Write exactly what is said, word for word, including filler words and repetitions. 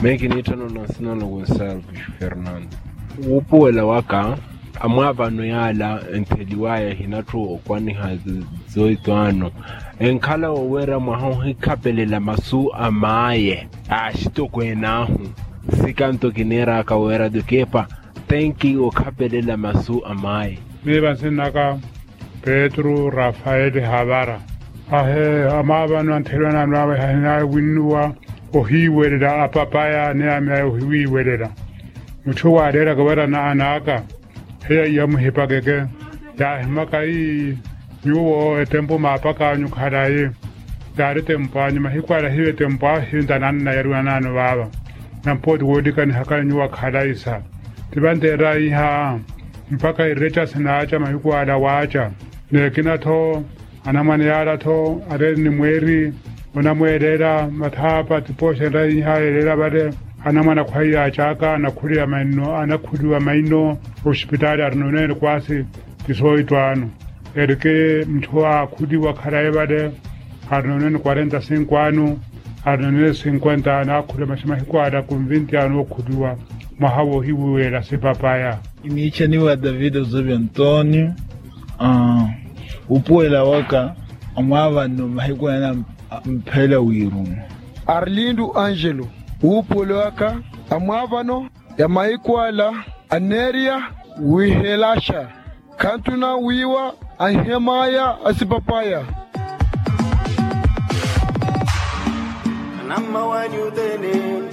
Mehi kiniitthana onasina na gonsalvo fernando. Wuupuwela waka amwaavano yaala entheliwaya ehinatthu okwaniha zoito ano. Enkhala wooweera mwaha ohikhapelela masu a maaye a axitokweene ahu. Sikanto kiniiraka weera tukepa tenki okhapelela masu a maaye. Miiva nsinnaka petru rafaeli havara. Ahe amaavano antheliwa naanwaawe hahinawinnuwa ohiiwelela apapaya ni amyayi ohiwiiwelela. Mutthu waaleelaka wira naan'aka heya iya muhipakeke. Yaahimaka ii nyuwo etempo maapak'anyu khalayi. Yaari tempo anyu mahiku ala hiyo etempo ahu hiyo ntananna yariwa naano vaava. Nampooti woolikanihakani nyuwo akhalayi sa tivanteeraiha. Mpakha ireca sinaaca mahiku ala waaca. N'ekina-tho anamwane yaala-tho areeri ni mweeri onamweeleela mathaapa tipooxenraiha yeeleela vale. Anamwane akhwaiyaacaka anakhuliwa maino anakhuliwa maino. Osipitaali arinoonene kwaasi ti sooyitwaano. Eriki mutthu aakhuliwa khalayi vale arinoonene kwarenta sinku ano. Arinoonene sinkwenta ano aakhuliwa maxi mahiku ala kunvinti ano ookhuliwa mwaha woohiwiwela sipapaya. Iniichaniwa david osevi antonio. Wuupuwela waka amwaavanno mahiku ene mpheela wiiruno. Arlindo angelo. Wuupuwela waka amwaavano ya mahiku ala aneeriya wihelaxa. Khanttuna wiiwa anhem'aya asipapaya. Anamma wanyu othene.